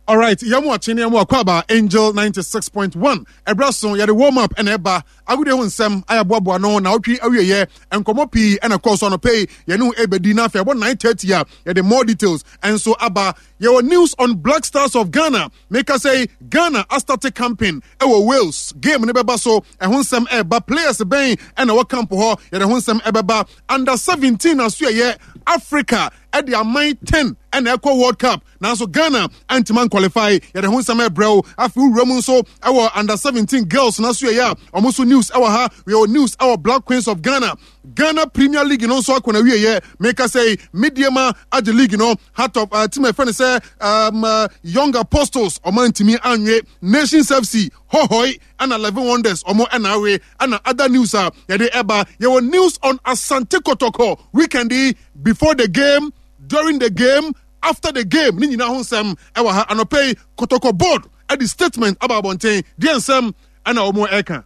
Alright, yɛn mu akye ne yɛn mu akɔ Angel 96.1. Ɛbrɛ so yɛde warm up ɛna ɛba. Agodie ho nsɛm ayɛboaboa no na ɔtwe awieyɛ. Nkɔmmɔ pii ɛna kɔɔ so anɔpɛ yi yɛne ho ɛbɛdi na afei ɛbɔ 9:30 a yɛde more details ɛnso aba. Yɛwɔ news on Black Stars of Ghana. Meka sɛ Ghana astarte camping ɛwɔ Wales. Game no bɛba so. Ɛho nsɛm ɛba. Players bɛn ɛna wɔ camp hɔ. Yɛde ho nsɛm ɛbɛba. Under 17 aso ɛyɛ Africa ɛde aman 10 ɛna ɛkɔ World Cup. Nanso Ghana antumi anqualify. Yɛde ho nsɛm ɛbrɛ wo. Afei wowura mu nso ɛwɔ under 17 girls na so yɛyɛ a ɔmo nso news ɛwɔ ha. Yɛwɔ news ɛwɔ Black Queens of Ghana. Ghana Premier League no nso akɔ na wieɛ. Meka sɛ Medeama agye league no. Heart of team ɛfɛ no sɛ Young Apostles ɔmo antumi anwe. Nations FC Hohoe ɛna 11 Wonders ɔmo ɛna awe. Ɛna other news a yɛde ɛba. Yɛwɔ news on Asante Kotoko weekend yi before the game, during the game, after the game ne nyinaa ho nsɛm ɛwɔ ha anɔpɛ yi. Kotoko board ɛde statement aba abɔnten deɛ nsɛm ɛna wɔn ɛka.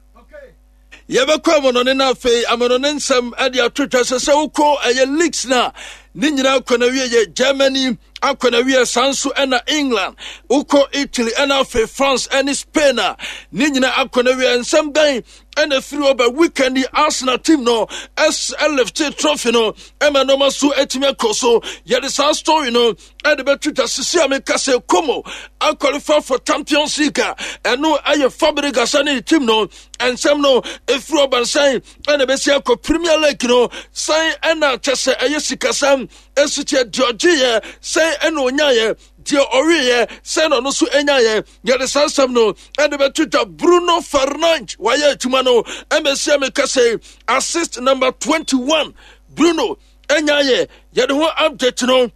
Yɛbɛkɔ amanɔne no afei amanɔne nsɛm de ato twa sɛ sɛ wokɔ ɛyɛ leagues no a ne nyinaa kɔ na wie yɛ Germany akɔ na wie saa nso ɛna England wokɔ Italy ɛna afei France ɛne Spain a ne nyinaa akɔ na wie. Nsɛm bɛn ɛna firi hɔ ba? Weekend yi Arsenal team no ɛlifte trophy no ɛma nneɛma so atumi akɔ so. Yɛde saa story no ɛde bɛto dwa sisi a meka sɛ Como aqualify for Champions League a ɛno ɛyɛ Fabregas ne ne team no. Nsɛm no ɛfiri ɔbansan ɛna ɛbɛsi akɔ Premier League no san ɛna kyɛ sɛ ɛyɛ sikasɛm ɛsi kyɛ deɛ ɔgyeeɛ sɛn ɛna ɔnyaeɛ, deɛ ɔweeɛ sɛn na ɔno nso ɛnyaeɛ. Yɛde saa nsɛm no ɛde bɛto dwa. Bruno Fernandes wayɛ adwuma no ɛmɛsi a meka sɛ assist number 21 Bruno ɛnyaeɛ. Yɛde ho update no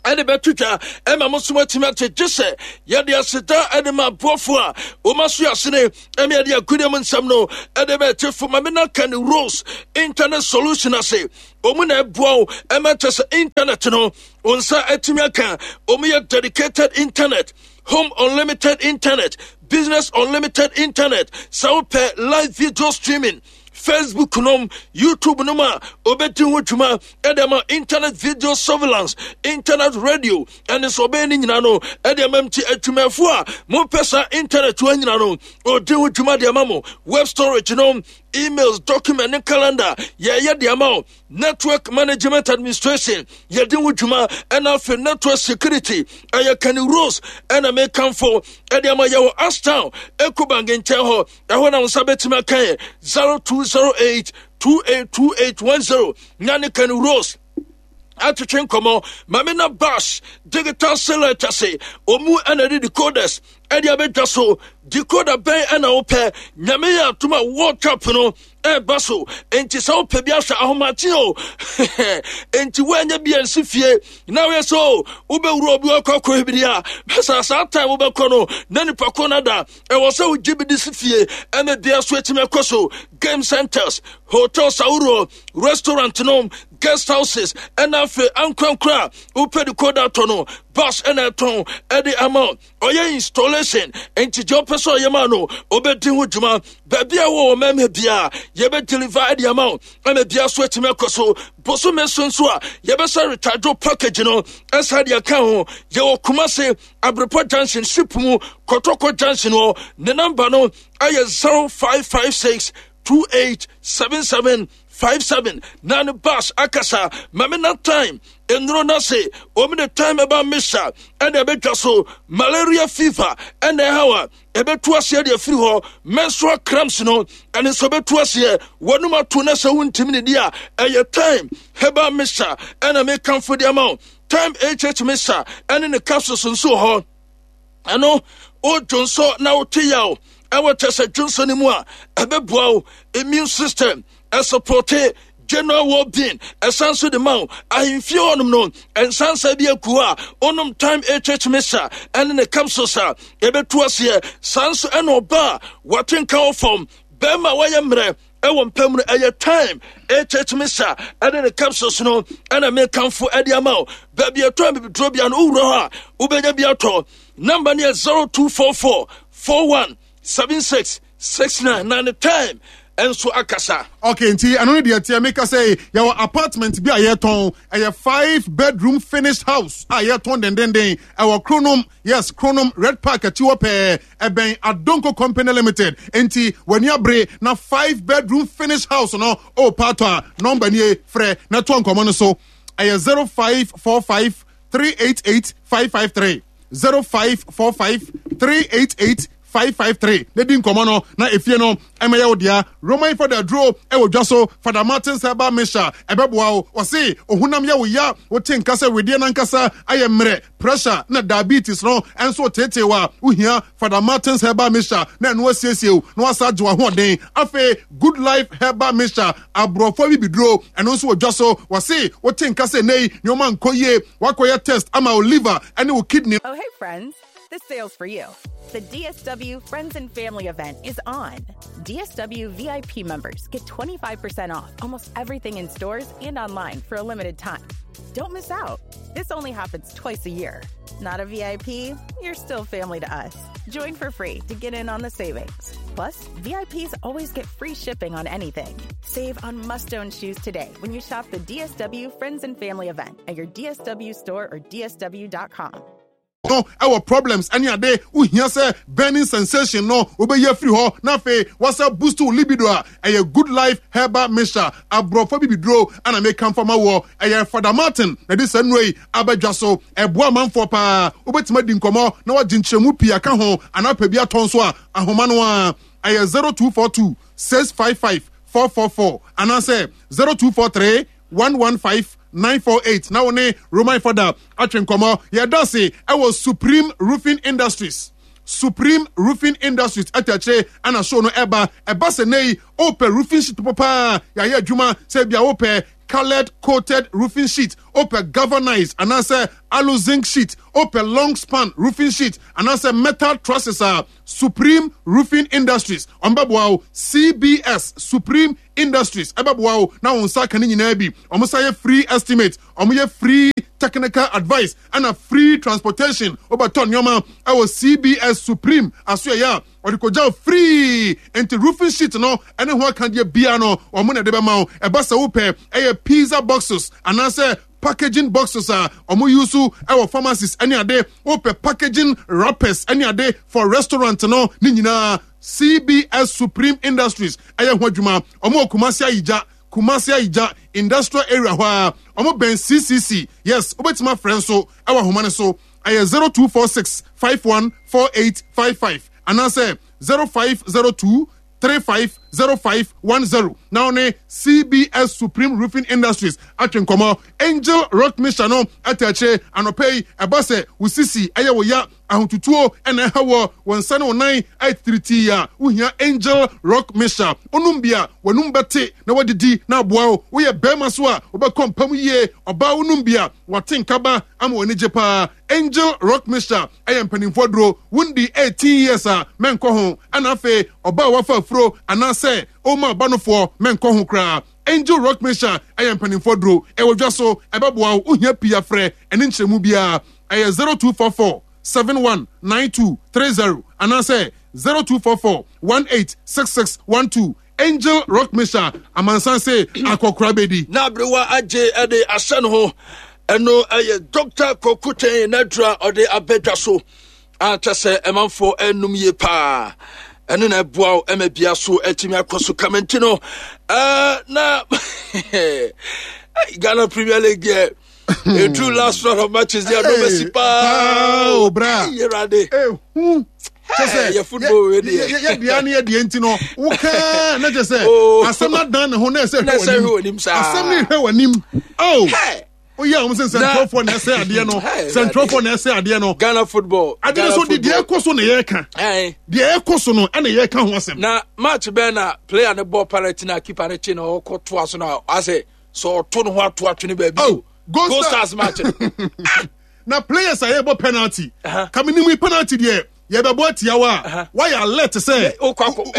ɛde bɛto dwa ɛma mo nso atumi ate gye sɛ yɛde aseda ɛde ma aboafo a wɔma so asene ɛne yɛde agudeɛ mu nsɛm no ɛde bɛte fo ma me na ka ne Rose Internet Solution ase. Wɔn na ɛboa wo ɛma kyɛ sɛ internet no wɔn nsa atumi aka. Wɔn yɛ dedicated internet, home unlimited internet, business unlimited internet. Sɛ wopɛ live video streaming, Facebook nom, YouTube nom a obɛdi ho dwuma ɛde ama internet video surveillance, internet radio ɛne sɛ ɔbɛyɛ ne nyina no ɛde ama mti adwumayɛfo a mopɛ saa internet wɔ nyina no ɔdi ho dwuma de ama mo. Web storage nom, emails, document ne calendar yɛyɛ de ama wo. Network management administration yɛde ho dwuma ɛna afei network security ɛyɛ Kenny Rose ɛna mekamfo ɛde ama. Yɛwɔ Ashtown, Ecobank nkyɛn hɔ. Ɛhɔ na wo nsa bɛtumi aka yɛ 0208 282810 nyane Kenny Rose atwetwe nkɔmmɔ. Mame na Bash Digital Select ase ɔmu ɛna de decoders ɛde abɛdwa so. Decoder bɛn ɛna wopɛ? Nyame yɛ atom a World Cup no ɛba so enti sɛ wopɛ bi ahwɛ ahomakye o enti woanyɛ bi ansi fie na woyɛ sɛ o wobɛwura obi wakɔ akɔ biri a bɛsa saa time wobɛkɔ no na nipa ko no da ɛwɔ sɛ wogye bi de si fie ɛna bia so atumi akɔ so. Game centers, hotels ahoroɔ, restaurant nom, guest houses ɛna afei ankorankora a wopɛ decoder atɔ no bus ɛna ɛtɔn ɛde ama. Ɔyɛ installation nti deɛ ɔpɛ sɛ ɔyɛ ma no ɔbɛdi ho dwuma. Baabi a wɔ mɛmɛ bia yɛbɛ deliver ɛde ama wo ɛma bia so atumi akɔ so. Bosome so nso a yɛbɛsa recharge package no ɛsa de aka ho. Yɛwɔ Kumase Abrepɔ Junction ship mu Kɔtɔkɔ Junction hɔ. Ne namba no ɛyɛ 0556 2877 57 na ne bus akasa. Mame na time nnuro no ase wɔn de time ɛba misa ɛna ɛbɛtwa so. Malaria fever ɛna ɛhaw a ɛbɛtu aseɛ de afiri hɔ. Menstrual cramps no ɛne nso ɛbɛtu aseɛ. Wɔnum ato na sɛ wontimi ne di a ɛyɛ time herbal mixture ɛna mekamfo de ama wo. Time hh mixture ɛne ne capsules nso wɔ hɔ. Ɛno wodwo nso na wote yaw ɛwɔ kyɛ sɛ dwonso no mu a ɛbɛboa wo immune system, ɛsupporte general well-being, ɛsan so de ma wo ahemfie hɔnom no nsansa bi aku a wonom time hh mixture ɛne ne capsules a ɛbɛtu aseɛ. Saa nso ɛna ɔba a wate nka wɔ fam bɛrima wayɛ mmerɛ ɛwɔ mpam no ɛyɛ time hh mixture ɛne ne capsules no ɛna mekamfo ɛde ama wo. Baabi ɛtɔ abibiduro bia no wowura hɔ a wobɛnya bi atɔ. Number no yɛ 0244 41 76 69 na ne time. nso akasa. Okay, nti ɛno ne deɛ teɛ meka sɛ yɛwɔ apartment bi a yɛtɔn ɛyɛ 5 bedroom finished house a yɛtɔn dendenden ɛwɔ Kronom. Yes, Kronom Red Park akyi hɔ pɛɛ, ɛbɛn Adonko Company Limited. Nti w'ani abere na 5 bedroom finished house no o paatɔ a, nɔmba nie, frɛ na ɛtoa nkɔmmɔ no so. Ɛyɛ 0545 388 553, 0545 388 553 na di nkɔmmɔ no na efie no ɛmɛyɛ wo dea. Roman fada duro ɛwɔ dwa so, Fada Martins herbal mixture ɛbɛboa wo. Ɔse ohunam yɛ wo ya, wote nka sɛ wedeɛ nankasa ayɛ mmerɛ, pressure na diabetes no ɛnso teetee wa, wohia Fada Martins herbal mixture na ɛno asiesie wo na wasa agye w'ahoɔden. Afei Good Life herbal mixture, aborɔfo abibiduro, ɛno nso wɔ dwa so. Wɔse wote nka sɛ nnɛ yi nneɛma nkɔ yie, wakɔyɛ test ama wo liver ɛne wo kidney. Oh, hey, friends. This sale's for you. The DSW Friends and Family event is on. DSW VIP members get 25% off almost everything in stores and online for a limited time. Don't miss out. This only happens twice a year. Not a VIP? You're still family to us. Join for free to get in on the savings. Plus, VIPs always get free shipping on anything. Save on must own shoes today when you shop the DSW Friends and Family event at your DSW store or DSW.com. No ɛwɔ problems ɛne ade wohia sɛ burning sensation no wobɛyi afiri hɔ na afei wasa boost wo libido a, ɛyɛ Good Life herbal mixture, aborɔfo bibiduro ana meka mfa ma woɔ. Ɛyɛ Fada Martin na de saa nnuro yi abɛdwa so. Ɛboa amanfoɔ paa. Wobɛtumi adi nkɔmmɔ na wagye nkyerɛmu pii aka ho anaa pɛ bi atɔ nso a, ahoma no a ɛyɛ 0242 655 444 anaasɛ 0243 115 948 na wo ne Roman Fada atwe nkɔmmɔ. Yɛda ase ɛwɔ Supreme Roofing Industries. Supreme Roofing Industries ɛtɛkyerɛ ɛna show no ɛba. Ɛba sɛ nei wopɛ roofing sheet paa yɛayɛ adwuma sɛ bia wopɛ colored coated roofing sheet, wopɛ galvanized anaasɛ alu zinc sheet, wopɛ long span roofing sheet anaasɛ metal trusses a, Supreme Roofing Industries ɔmbɛboa wo. CBS Supreme Industries ɛbɛboa wo na wo nsa ka ne nyinaa bi. Ɔmo sa yɛ free estimate, ɔmo yɛ free technical advice ɛna free transportation. Wobɛtɔ nneɛma ɛwɔ CBS Supreme asoɛyɛ a, ɔde kɔgya wo free. Nti roofing sheet no ɛne ho akadeɛ bia no, ɔmo na ɛde bɛma wo. Ɛba sɛ wopɛ ɛyɛ pizza boxes anaasɛ packaging boxes a ɔmo use ɛwɔ pharmacies ɛne ade, wopɛ packaging wrappers ɛne ade for restaurant no ne nyinaa, CBS Supreme Industries ɛyɛ ho adwuma. Ɔmo wɔ Kumasi Ayigya, Kumasi Ayigya Industrial Area hɔ a ɔmo bɛn CCC. Yes, wobɛtumi afrɛ nso ɛwɔ ahoma no so, ɛyɛ 0246 514855 anaasɛ 0502 350510 na ɔne CBS Supreme Roofing Industries atwe nkɔmmɔ. Angel Rock Mixture no ɛtɛ akyire anɔpɛ yi. Ɛba sɛ wo sisi ɛyɛ wo ya, ahotutuo ɛna ɛha wɔ wɔn nsa ne wo nan ayɛ titiritii a, wohia Angel Rock Mixture. Onum bi a, w'anum bɛte na wadidi na aboa wo. Woyɛ bɛrima so a, wobɛkɔ mpam yie. Ɔbaa, wonum bi a, wate nkaba ama w'ani gye paa. Angel Rock Mixture ɛyɛ mpanimfoɔ duro. Wondi 18 years a, mɛnkɔ ho. Ɛna afei ɔbaa a wafa afuro anaasɛ ɔma ɔba nofoɔ, mɛnkɔ ho koraa. Angel Rock Mixture ɛyɛ mpanimfoɔ duro, ɛwɔ dwa so, ɛbɛboa wo. Wohia pii afrɛ ɛne nkyerɛmu biara, ɛyɛ 0244 719230 anaasɛ 0244 186612. Angel Rock Mixture, amansan se akɔkora bɛdi. Na aberewa agye ɛde ahyɛ ne ho. Ɛno ɛyɛ Dr. Kokutɛn n'adura ɔde abɛdwa so a kyɛ sɛ ɛmanfoɔ ɛnum yie paa. Ɛno na ɛboa wo ɛma bia so atumi akɔ so kama. Nti no na Ghana Premier League deɛ, ɛduru last round of matches deɛ, no bɛsi paa. O bra. Yɛwurade. Ehu kyɛ sɛ yɛ football wei deɛ. Yɛ dea ne yɛ deɛ. Nti no wokaa na kyɛ sɛ asɛm no adan ne ho na ɛsɛ hwɛ w'anim. Asɛm no hwɛ w'anim oh. Woyɛ a wɔn sɛ nsɛntwerɛfoɔ na ɛsɛ adeɛ no, nsɛntwerɛfoɔ na ɛsɛ adeɛ no. Ghana football. Adeɛ no so de deɛ ɛkɔ so na yɛreka, deɛ ɛkɔ so no ɛna yɛreka ho asɛm. Na match bɛn na player no bɔ penalty na keeper no kye na ɔkɔ toa so na asɛ sɛ ɔto ne ho ato atwene baabi? Oh, Gold Stars match no. Na players a yɛbɔ penalty kaminim yi, penalty deɛ yɛbɛbɔ atia wa a, wayɛ alert sɛ o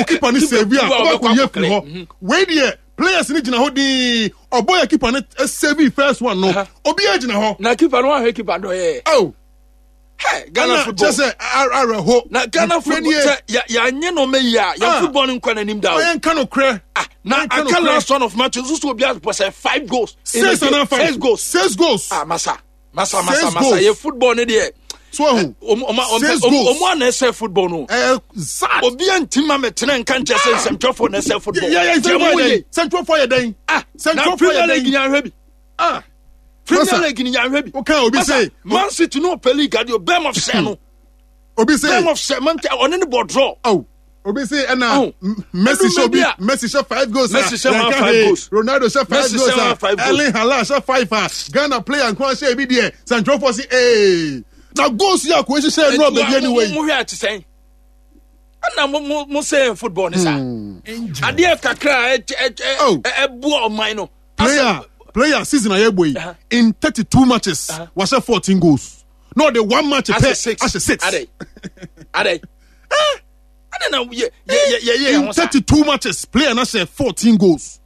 keeper no save a, wobɛkɔ yɛ firi hɔ. Wei deɛ, players ni gyina hɔ dii, ɔbɔ yɛ keeper no save first one no, obiara gyina hɔ. Na keeper no wahwɛ keeper no yɛ. Oh. Hey, Ghana football. Kyɛ sɛ awerɛho. Na Ghana football sɛ yɛanyɛ no ɔmɛ yi a yɛn ah. football no nkɔ n'anim da o. Ɔyɛ nka no korɛ. Ah, na aka last one of match nso so obi apɔ sɛ five goals. Six and five. Six goals. Six goals. Ah, masa masa masa masa yɛ football ne deɛ. So ahu. Six goals. Ɔmo ana ɛsɛ football no. Ɛɛ zat. Obi a nti ma mɛ tena nka nkyɛn sɛ nsɛmtwerɛfoɔ na ɛsɛ football. Yɛ yɛ nsɛmtwerɛfoɔ yɛ dɛn? Nsɛmtwerɛfoɔ yɛ dɛn? Ah, na Premier League yɛn ahwɛ bi. Ah. Premier League ni yɛahwɛ bi. Woka obi se. Man City no ɔpɛ league adeɛ bɛm of sɛ no. Obi se. Bɛm of sɛ man ɔne ne bɔ draw. Oh. Obi se ɛna oh. Messi hyɛ obi Messi hyɛ five goals a. Messi hyɛ one five goals. Ronaldo hyɛ five goals a. Erling Haaland hyɛ five a. Ghana player nko ahyɛ ebi deɛ. Santorofoɔ se ee. Na goals yi a kò ehyehyɛ ɛnu abɛbi anyway. Mo hwɛ ati sɛn. Ɛna mo mo mo sɛ football ne sa. Adeɛ kakra ɛ ɛ ɛboa ɔman no. Player player season a yɛbɔ yi in 32 matches wahyɛ 14 goals na ɔde one match pɛ ahyɛ six. Adɛ adɛ adɛ na yɛ yɛ yɛ yɛ in 32 matches player na hyɛ 14 goals.